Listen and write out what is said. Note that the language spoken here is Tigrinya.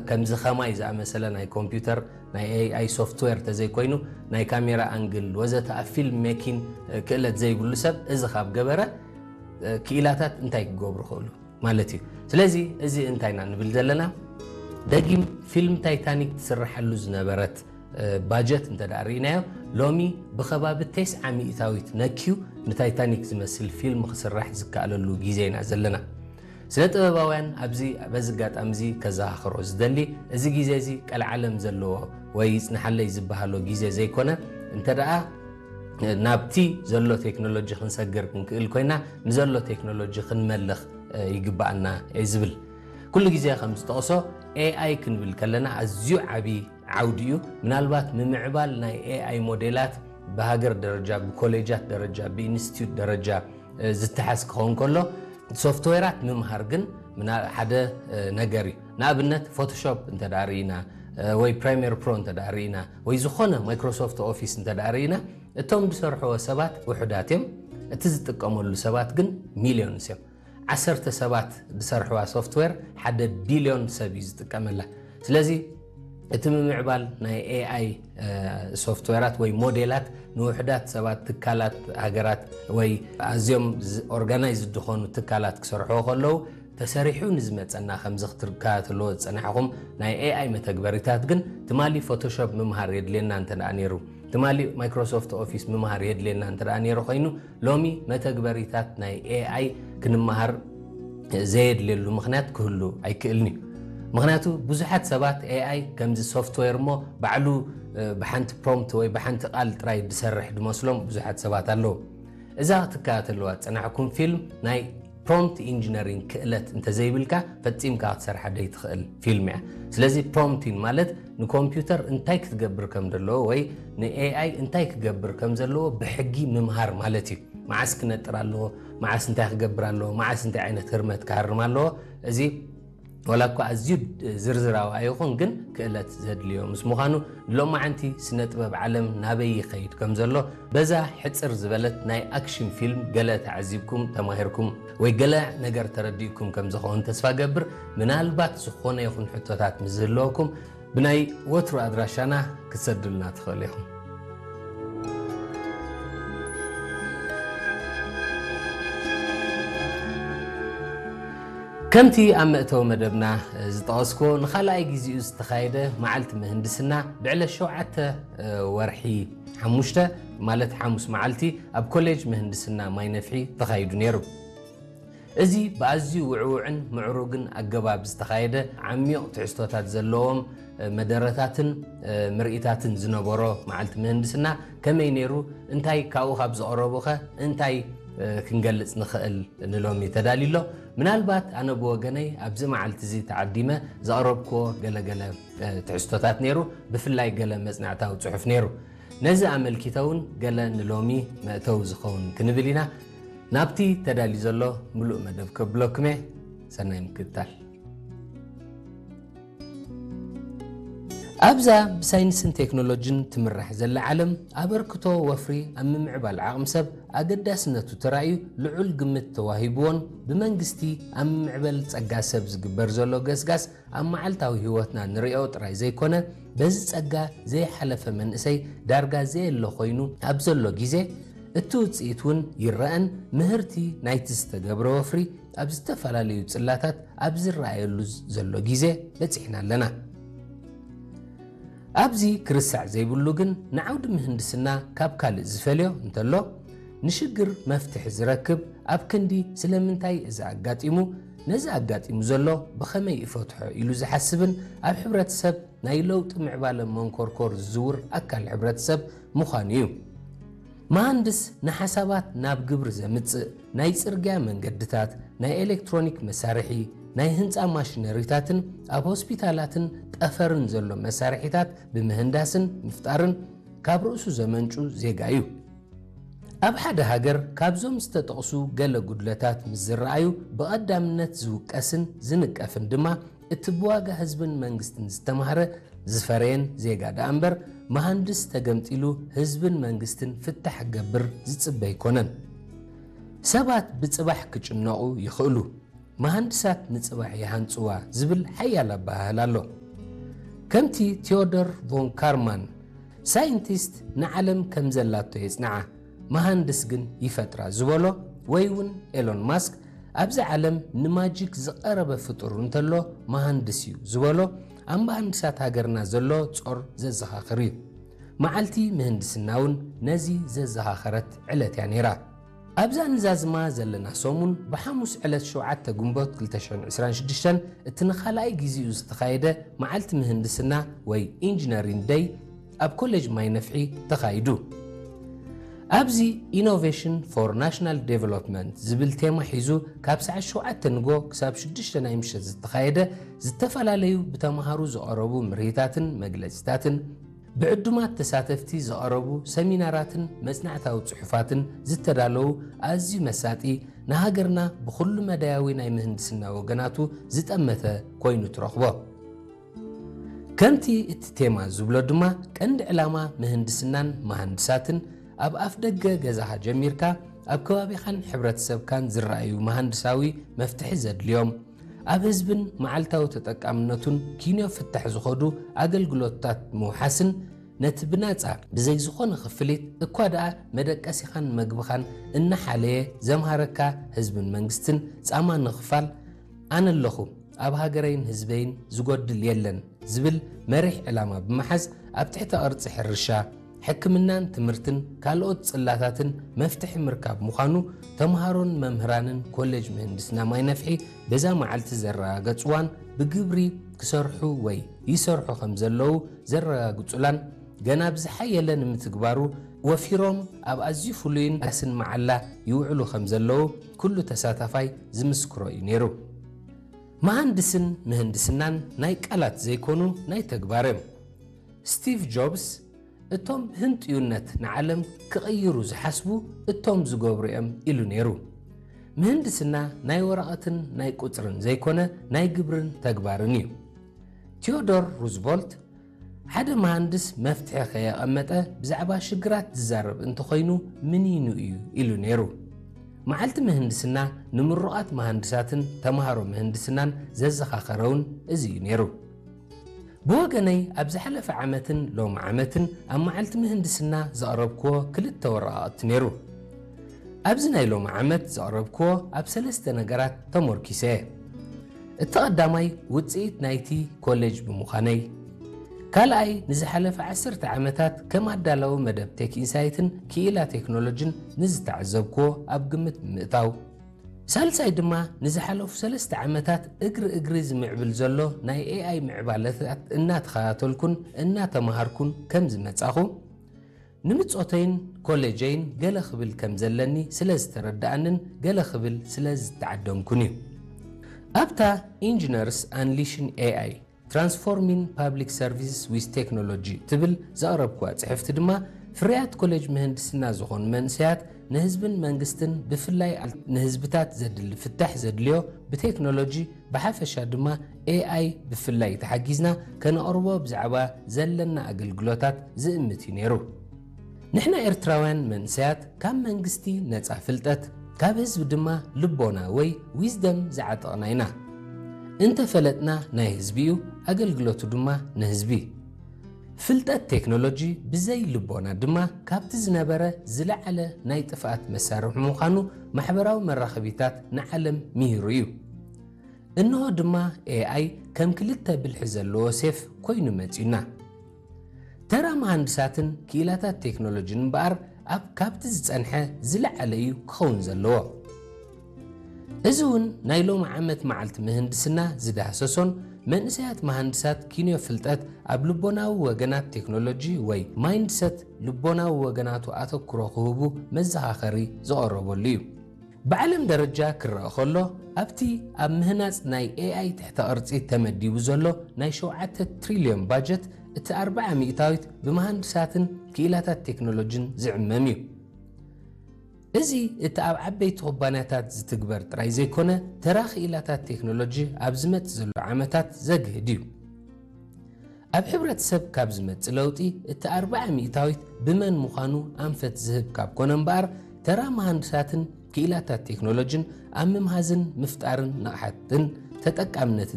ከምዚ ኸማይ ዝኣመሰለ ናይ ኮምፒውተር ናይ ኤኣይ ሶፍትዌር ተዘይኮይኑ ናይ ካሜራ ኣንግል ወዘተ ኣብ ፊልም ሜኪን ክእለት ዘይብሉ ሰብ እዚ ካብ ገበረ ክኢላታት እንታይ ክገብሩ ክእሉ ማለት እዩ። ስለዚ እዚ እንታይ ኢና ንብል ዘለና? ደጊም ፊልም ታይታኒክ ትስርሐሉ ዝነበረት ባጀት እንተ ደኣ ርኢናዮ፣ ሎሚ ብኸባቢ ተስዓ ሚእታዊት ነክዩ ንታይታኒክ ዝመስል ፊልም ክስራሕ ዝከኣለሉ ግዜ ኢና ዘለና። ስነ ጥበባውያን ኣብዚ በዚ ኣጋጣሚ እዚ ከዘኻኽሮ ዝደሊ፣ እዚ ግዜ እዚ ቀልዓለም ዘለዎ ወይ ይጽንሓለይ ዝበሃሎ ግዜ ዘይኮነ፣ እንተ ደኣ ናብቲ ዘሎ ቴክኖሎጂ ክንሰግር ክንክእል ኮይና፣ ንዘሎ ቴክኖሎጂ ክንመልኽ ይግባኣና እየ ዝብል። ኩሉ ግዜ ከም ዝጠቕሶ ኤኣይ ክንብል ከለና ኣዝዩ ዓቢ ዓውዲ እዩ። ምናልባት ምምዕባል ናይ ኤኣይ ሞዴላት ብሃገር ደረጃ፣ ብኮሌጃት ደረጃ፣ ብኢንስቲትዩት ደረጃ ዝተሓዝ ክኸውን ከሎ፣ ሶፍትዌራት ምምሃር ግን ሓደ ነገር እዩ። ንኣብነት ፎቶሾፕ እንተ ደኣ ርኢና ወይ ፕሪሚየር ፕሮ እንተ ደኣ ርኢና ወይ ዝኾነ ማይክሮሶፍት ኦፊስ እንተ ደኣ ርኢና፣ እቶም ዝሰርሕዎ ሰባት ውሑዳት እዮም፣ እቲ ዝጥቀመሉ ሰባት ግን ሚልዮንስ እዮም። ዓሰርተ ሰባት ዝሰርሕዋ ሶፍትዌር ሓደ ቢልዮን ሰብ እዩ ዝጥቀመላ። ስለዚ እቲ ምምዕባል ናይ ኤኣይ ሶፍትዌራት ወይ ሞዴላት ንውሑዳት ሰባት፣ ትካላት፣ ሃገራት ወይ ኣዝዮም ኦርጋናይዝ ዝኾኑ ትካላት ክሰርሕዎ ከለዉ ተሰሪሑ ንዝመፀና ከምዚ ክትከታተልዎ ዝፀናሕኹም ናይ ኤኣይ መተግበሪታት ግን ትማሊ ፎቶሾፕ ምምሃር የድልየና እንተ ደኣ ነይሩ፣ ትማሊ ማይክሮሶፍት ኦፊስ ምምሃር የድልየና እንተ ደኣ ነይሩ ኮይኑ ሎሚ መተግበሪታት ናይ ኤኣይ ክንመሃር ዘየድልየሉ ምኽንያት ክህሉ ኣይክእልን እዩ። ምኽንያቱ ብዙሓት ሰባት ኤኣይ ከምዚ ሶፍትዌር እሞ ባዕሉ ብሓንቲ ፕሮምፕት ወይ ብሓንቲ ቃል ጥራይ ዝሰርሕ ዝመስሎም ብዙሓት ሰባት ኣለዉ። እዛ ክትከታተልዋ ዝጸናሕኩም ፊልም ናይ ፕሮምፕት ኢንጂነሪንግ ክእለት እንተዘይብልካ ፈጺምካ ክትሰርሓ ዘይትኽእል ፊልም እያ። ስለዚ ፕሮምፕቲንግ ማለት ንኮምፒውተር እንታይ ክትገብር ከም ዘለዎ ወይ ንኤኣይ እንታይ ክገብር ከም ዘለዎ ብሕጊ ምምሃር ማለት እዩ። መዓስ ክነጥር ኣለዎ፣ መዓስ እንታይ ክገብር ኣለዎ፣ መዓስ እንታይ ዓይነት ህርመት ክሃርም ኣለዎ፣ እዚ ዋላ እኳ ኣዝዩ ዝርዝራዊ ኣይኹን ግን ክእለት ዘድልዮ ምስ ምዃኑ ንሎማዓንቲ ስነ ጥበብ ዓለም ናበይ ይኸይድ ከም ዘሎ በዛ ሕጽር ዝበለት ናይ ኣክሽን ፊልም ገለ ተዓዚብኩም ተማሂርኩም ወይ ገለ ነገር ተረዲእኩም ከም ዝኸውን ተስፋ ገብር። ምናልባት ዝኾነ ይኹን ሕቶታት ምስ ዝህልወኩም ብናይ ወትሩ ኣድራሻና ክትሰዱልና ትኽእሉ ኢኹም። ከምቲ ኣብ መእተዊ መደብና ዝጠቐስኮ ንኻልኣይ ግዜኡ ዝተኻየደ መዓልቲ ምህንድስና ብዕለት ሸውዓተ ወርሒ ሓሙሽተ ማለት ሓሙስ መዓልቲ ኣብ ኮሌጅ ምህንድስና ማይነፍሒ ተኻይዱ ነይሩ። እዚ ብኣዝዩ ውዕውዕን ምዕሩግን ኣገባብ ዝተኻየደ ዓሚቕ ትሕዝቶታት ዘለዎም መደረታትን ምርኢታትን ዝነበሮ መዓልቲ ምህንድስና ከመይ ነይሩ፣ እንታይ ካብኡ ካብ ዝቐረቡኸ እንታይ ክንገልጽ ንኽእል ንሎሚ ተዳልዩ ኣሎ። ምናልባት ኣነ ብወገነይ ኣብዚ መዓልቲ እዚ ተዓዲመ ዘቕረብክዎ ገለገለ ትሕዝቶታት ነይሩ፣ ብፍላይ ገለ መጽናዕታዊ ጽሑፍ ነይሩ። ነዚ ኣመልኪተ እውን ገለ ንሎሚ መእተዊ ዝኸውን ክንብል ኢና። ናብቲ ተዳልዩ ዘሎ ምሉእ መደብ ከብለኩም እየ። ሰናይ ምክትታል። ኣብዛ ብሳይንስን ቴክኖሎጂን ትምራሕ ዘላ ዓለም ኣበርክቶ ወፍሪ ኣብ ምምዕባል ዓቕሚ ሰብ ኣገዳስነቱ ተራእዩ ልዑል ግምት ተዋሂብዎን ብመንግስቲ ኣብ ምምዕበል ጸጋ ሰብ ዝግበር ዘሎ ገስጋስ ኣብ መዓልታዊ ህይወትና ንሪኦ ጥራይ ዘይኮነ በዚ ጸጋ ዘይሓለፈ መንእሰይ ዳርጋ ዘየሎ ኮይኑ ኣብ ዘሎ ግዜ እቲ ውጽኢት እውን ይረኣን ምህርቲ ናይቲ ዝተገብረ ወፍሪ ኣብ ዝተፈላለዩ ጽላታት ኣብ ዝረኣየሉ ዘሎ ግዜ በጺሕና ኣለና። ኣብዚ ክርስዕ ዘይብሉ ግን ንዓውዲ ምህንድስና ካብ ካልእ ዝፈልዮ እንተሎ ንሽግር መፍትሒ ዝረክብ ኣብ ክንዲ ስለምንታይ እዚ ኣጋጢሙ ነዚ ኣጋጢሙ ዘሎ ብኸመይ ይፈትሖ ኢሉ ዝሓስብን ኣብ ሕብረተሰብ ናይ ለውጢ ምዕባለ መንኮርኮር ዝዝውር ኣካል ሕብረተሰብ ምዃኑ እዩ። መሃንድስ ንሓሳባት ናብ ግብሪ ዘምጽእ ናይ ጽርግያ መንገድታት፣ ናይ ኤሌክትሮኒክ መሳርሒ፣ ናይ ህንጻ ማሽነሪታትን ኣብ ሆስፒታላትን ጠፈርን ዘሎ መሳርሒታት ብምህንዳስን ምፍጣርን ካብ ርእሱ ዘመንጩ ዜጋ እዩ። ኣብ ሓደ ሃገር ካብዞም ዝተጠቕሱ ገለ ጉድለታት ምስ ዝረኣዩ ብቐዳምነት ዝውቀስን ዝንቀፍን ድማ እቲ ብዋጋ ህዝብን መንግስትን ዝተማህረ ዝፈረየን ዜጋ ደኣ እምበር መሃንድስ ተገምጢሉ ህዝብን መንግስትን ፍታሕ ክገብር ዝጽበ ኣይኮነን። ሰባት ብጽባሕ ክጭነቑ ይኽእሉ። መሃንድሳት ንጽባሕ ይሃንጽዋ ዝብል ሓያል ኣበሃህላ ኣሎ። ከምቲ ቴዎዶር ቮን ካርማን፣ ሳይንቲስት ንዓለም ከም ዘላቶ የጽንዓ፣ መሃንድስ ግን ይፈጥራ ዝበሎ፣ ወይ እውን ኤሎን ማስክ ኣብዚ ዓለም ንማጂክ ዝቐረበ ፍጡር እንተሎ መሃንድስ እዩ ዝበሎ፣ ኣብ መሃንድሳት ሃገርና ዘሎ ጾር ዘዘኻኽር እዩ። መዓልቲ ምህንድስና እውን ነዚ ዘዘኻኸረት ዕለት እያ ነይራ። ኣብዛ ንዛዝማ ዘለና ሰሙን ብሓሙስ ዕለት ሸውዓተ ግንቦት ክልተ ሽሕን ዕስራን ሽዱሽተን እቲ ንኻልኣይ ግዜኡ ዝተኻየደ መዓልቲ ምህንድስና ወይ ኢንጂነሪንግ ደይ ኣብ ኮሌጅ ማይ ነፍሒ ተኻይዱ። ኣብዚ ኢኖቬሽን ፎር ናሽናል ዴቨሎፕመንት ዝብል ቴማ ሒዙ ካብ ሰዓት ሸውዓተ ንጎ ክሳብ ሽዱሽተ ናይ ምሸት ዝተኻየደ ዝተፈላለዩ ብተምሃሩ ዝቐረቡ ምርሂታትን መግለጺታትን ብዕዱማት ተሳተፍቲ ዝቐረቡ ሰሚናራትን መጽናዕታዊ ጽሑፋትን ዝተዳለዉ ኣዝዩ መሳጢ ንሃገርና ብኹሉ መዳያዊ ናይ ምህንድስና ወገናቱ ዝጠመተ ኮይኑ ትረኽቦ። ከምቲ እቲ ቴማ ዝብሎ ድማ ቀንዲ ዕላማ ምህንድስናን መሃንድሳትን ኣብ ኣፍ ደገ ገዛኻ ጀሚርካ ኣብ ከባቢኻን ሕብረተሰብካን ዝረኣዩ መሃንድሳዊ መፍትሒ ዘድልዮም ኣብ ህዝብን መዓልታዊ ተጠቃምነቱን ኪንዮ ፍታሕ ዝኸዱ ኣገልግሎታት ምውሓስን ነቲ ብናጻ ብዘይ ዝኾነ ክፍሊት እኳ ደኣ መደቀሲኻን መግብኻን እናሓለየ ዘምሃረካ ህዝብን መንግስትን ጻማ ንኽፋል ኣነ ኣለኹ ኣብ ሃገረይን ህዝበይን ዝጎድል የለን ዝብል መሪሕ ዕላማ ብምሓዝ ኣብ ትሕተ ቅርጺ ሕርሻ ሕክምናን ትምህርትን ካልኦት ጽላታትን መፍትሒ ምርካብ ምዃኑ ተምሃሮን መምህራንን ኮሌጅ ምህንድስና ማይ ነፍሒ በዛ መዓልቲ ዘረጋገጽዋን ብግብሪ ክሰርሑ ወይ ይሰርሑ ከም ዘለዉ ዘረጋግጹላን ገና ብዝሓየለ ንምትግባሩ ወፊሮም ኣብ ኣዝዩ ፍሉይን ኣስን መዓላ ይውዕሉ ከም ዘለዉ ኩሉ ተሳታፋይ ዝምስክሮ እዩ ነይሩ። መሃንድስን ምህንድስናን ናይ ቃላት ዘይኮኑ ናይ ተግባር እዮም። ስቲቭ ጆብስ እቶም ህንጥዩነት ንዓለም ክቕይሩ ዝሓስቡ እቶም ዝገብሩ እዮም ኢሉ ነይሩ። ምህንድስና ናይ ወረቐትን ናይ ቁጽርን ዘይኮነ ናይ ግብርን ተግባርን እዩ። ቲዮዶር ሩዝቮልት ሓደ መሃንድስ መፍትሒ ከየቐመጠ ብዛዕባ ሽግራት ዝዛረብ እንተኾይኑ ምኒኑ እዩ ኢሉ ነይሩ። መዓልቲ ምህንድስና ንምሩቓት መሃንድሳትን ተምሃሮ ምህንድስናን ዘዘኻኸረውን እዚ እዩ ነይሩ። ብወገነይ ኣብ ዝሓለፈ ዓመትን ሎም ዓመትን ኣብ መዓልቲ ምህንድስና ዘቕረብክዎ ክልተ ወረቓቕቲ ነይሩ። ኣብዚ ናይ ሎም ዓመት ዘቕረብክዎ ኣብ ሰለስተ ነገራት ተሞርኪሰ እየ። እቲ ቐዳማይ ውጽኢት ናይቲ ኮሌጅ ብምዃነይ፣ ካልኣይ ንዝሓለፈ ዓሰርተ ዓመታት ከም ኣዳላዊ መደብ ቴክ ኢንሳይትን ክኢላ ቴክኖሎጅን ንዝተዓዘብክዎ ኣብ ግምት ብምእታው፣ ሳልሳይ ድማ ንዝሓለፉ ሰለስተ ዓመታት እግሪ እግሪ ዝምዕብል ዘሎ ናይ ኤኣይ ምዕባለታት እናተኸታተልኩን እናተምሃርኩን ከም ዝመጻኹ ንምጾተይን ኮሌጀይን ገለ ክብል ከም ዘለኒ ስለ ዝተረድኣንን ገለ ክብል ስለ ዝተዓደምኩን እዩ። ኣብታ ኢንጂነርስ ኣንሊሽን ኤኣይ ትራንስፎርሚን ፓብሊክ ሰርቪስስ ዊዝ ቴክኖሎጂ ትብል ዘቕረብኩዋ ጽሕፍቲ ድማ ፍርያት ኮሌጅ ምህንድስና ዝኾኑ መንእሰያት ንህዝብን መንግስትን ብፍላይ ንህዝብታት ዘድሊ ፍታሕ ዘድልዮ ብቴክኖሎጂ ብሓፈሻ ድማ ኤኣይ ብፍላይ ተሓጊዝና ከነቕርቦ ብዛዕባ ዘለና ኣገልግሎታት ዝእምት እዩ ነይሩ። ንሕና ኤርትራውያን መንእሰያት ካብ መንግስቲ ነጻ ፍልጠት ካብ ህዝቢ ድማ ልቦና ወይ ዊዝደም ዝዓጠቕና ኢና። እንተፈለጥና ናይ ህዝቢ እዩ፣ ኣገልግሎቱ ድማ ንህዝቢ። ፍልጠት ቴክኖሎጂ ብዘይ ልቦና ድማ ካብቲ ዝነበረ ዝለዓለ ናይ ጥፍኣት መሳርሒ ምዃኑ ማሕበራዊ መራኸቢታት ንዓለም ምሂሩ እዩ። እንሆ ድማ ኤኣይ ከም ክልተ ብልሒ ዘለዎ ሴፍ ኮይኑ መጺኡና። ተራ መሃንድሳትን ክኢላታት ቴክኖሎጂን እምበኣር ኣብ ካብቲ ዝጸንሐ ዝለዓለ እዩ ክኸውን ዘለዎ። እዚ እውን ናይ ሎም ዓመት መዓልቲ ምህንድስና ዝዳህሰሶን መንእሰያት መሃንድሳት ኪንዮ ፍልጠት ኣብ ልቦናዊ ወገናት ቴክኖሎጂ ወይ ማይንድሰት ልቦናዊ ወገናቱ ኣተኩሮ ክህቡ መዘኻኸሪ ዝቐረበሉ እዩ። ብዓለም ደረጃ ክረኣ ከሎ ኣብቲ ኣብ ምህናጽ ናይ ኤኣይ ትሕተ ቅርጺ ተመዲቡ ዘሎ ናይ ሸውዓተ ትሪልዮን ባጀት እቲ ኣርብዓ ሚእታዊት ብመሃንድሳትን ክኢላታት ቴክኖሎጂን ዝዕመም እዩ። እዚ እቲ ኣብ ዓበይቲ ኩባንያታት ዝትግበር ጥራይ ዘይኮነ ተራ ክኢላታት ቴክኖሎጂ ኣብ ዝመጽእ ዘሎ ዓመታት ዘግህድ እዩ። ኣብ ሕብረተሰብ ካብ ዝመጽእ ለውጢ እቲ ኣርብዓ ሚእታዊት ብመን ምዃኑ ኣንፈት ዝህብ ካብ ኮነ እምበኣር ተራ መሃንድሳትን ክኢላታት ቴክኖሎጂን ኣብ ምምሃዝን ምፍጣርን ንቕሓትን ተጠቃምነትን